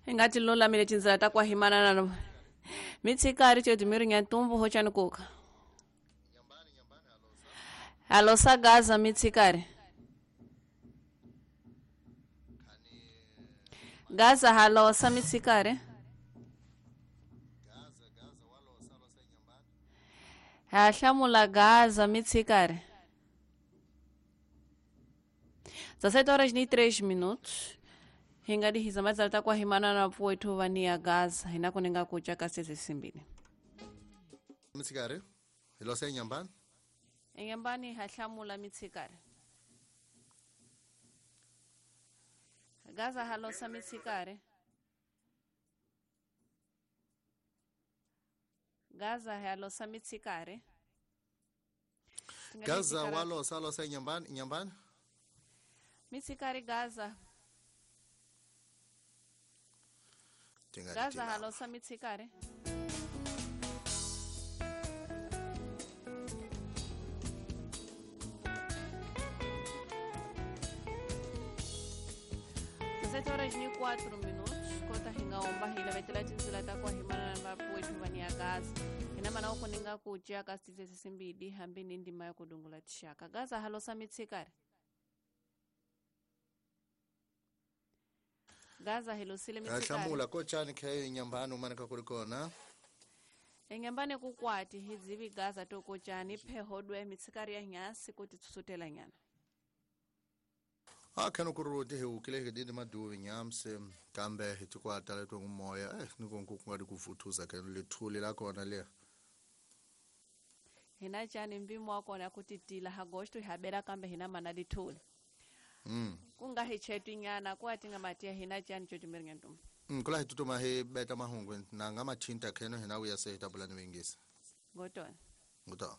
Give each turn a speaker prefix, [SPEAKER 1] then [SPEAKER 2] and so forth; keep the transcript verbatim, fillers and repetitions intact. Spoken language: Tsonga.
[SPEAKER 1] Hi nga ti lulamile tindzela ta ku himanana mitshikari tyo dimiri nyantumbu hochani kuka halosa Gaza mitshikari Gaza halosa mitshikari hahlamula Gaza mitshikari dezessete horas e três minutos. Hingadi hizamaza ta kwa himana na pwetu vania Gaza hinako ninga kucha kasese simbini.
[SPEAKER 2] Mitsikari hilose nyambani
[SPEAKER 1] Nyambani hahlamula mitsikari Gaza halosa mitsikari Gaza halosa mitsikari
[SPEAKER 2] Gaza walosa alosa nyambani nyambani
[SPEAKER 1] Mitsikari Gaza Gaza halosa mitsikari Sete horas e quatro minutos, kota hinga omba hila vetela tinzila ta kwa himana na vapuwetu vania Gaza. Ina mana uko ninga kuchia kasitize sisimbidi hambini ndima ya kudungula tishaka. Gaza halosa mitsikari Gaza hilosile mitsikari
[SPEAKER 2] Hlamula kochani khe nyambani umaneka kulikona
[SPEAKER 1] Enyambani kukwati hidzivi Gaza tokochani phehodwe mitsikari ya nyasi kuti tsusutela nyana.
[SPEAKER 2] Akhano kuruti hi ukile hi maduvi nyamse kambe hi tikwata leto ngumoya eh nikonku kungadi kuvuthuza ke lethuli lakona le
[SPEAKER 1] Hina chani mbimo wakona kuti tila hagosto habera kambe hina mana lithuli.
[SPEAKER 2] Mm.
[SPEAKER 1] Kunga hi chetu nyana kwa tinga matia hina chani chotumiringa ntum.
[SPEAKER 2] Mm kula hi tutuma hi beta mahungu na ngama thinta kheno hina uya se tabulani wengisa.
[SPEAKER 1] Ngotona.
[SPEAKER 2] Ngotona.